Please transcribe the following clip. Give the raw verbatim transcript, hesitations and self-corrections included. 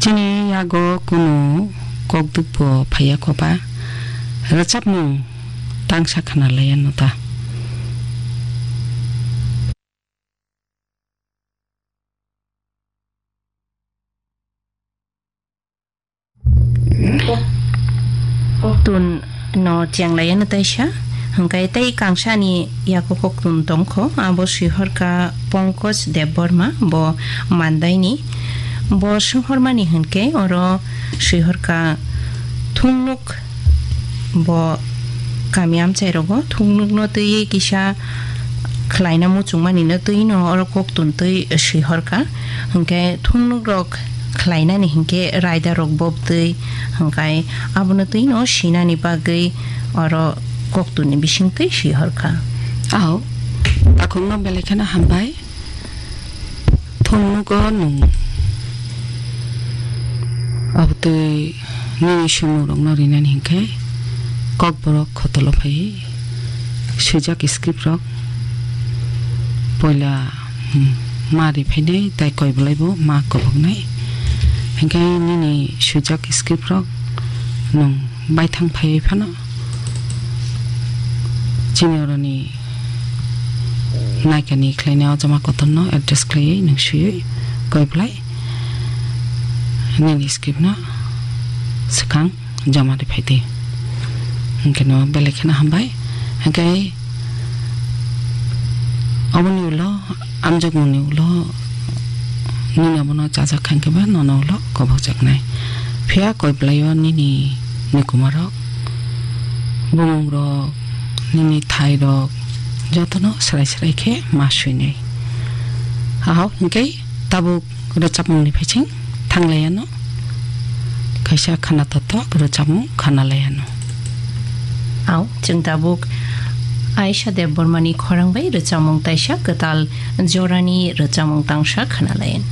Chini yago kunu kokdwkbo phaiya koba, rwchapmung tangsa khwnalaiya no ta. Tun no chenglaiya no taisa, hwnkhe tei kangsani yago koktun tongkho, abo swihorkha Pankaj Debbarma, bo Mandaini. Bo swnghormani hwnkhe oro swihorkha thungnuk, bo kami amchai rogo thungnukno twiwi kisa khlaina muchungmani no twi no oro koktun twi swihorkha. Hwnkhe thungnuk rok khlainani hinkhe raida rok bobtwi hwnkhe abono twi no sinani bagwi oro koktun ni bisingtwi swihorkha. Ao, takhukno belai kheno hambai. Thungnuk o nwng abotwi nini swngmung rokno rinani hinkhe Kokborok khotolo phai swijak script rok poila, hmm, ma ri phainai tei koi bolai bo ma koboknai. Hinkhe nini swijak script rok nwng baithang phaiwi phano chini oroni naikani khlainai o jama kotorno address khlaiwi nwng swiwi koi bolai nini script no swkang joma ri phaidi. Hinkhe no belai kheno hambai. Hinkhe aboni ulo amjokmungni ulo nini abono chajak kha hinkhe ba nono ulo kobokjaknai. Phiya koi bwlaio nini nikumarok, bumungrok, nini thairok jotono swrai swrai khe ma swinai. Ahok hinkhe tabuk rwchapmungni phaising thanglaiano, kaisa khana totok rwchapmung khanalaiano. Ao, chwng tabuk Aisha Debbarmani khorang bai rwchapmung taisa kwtal jorani rwchapmung tangsa khanalaian.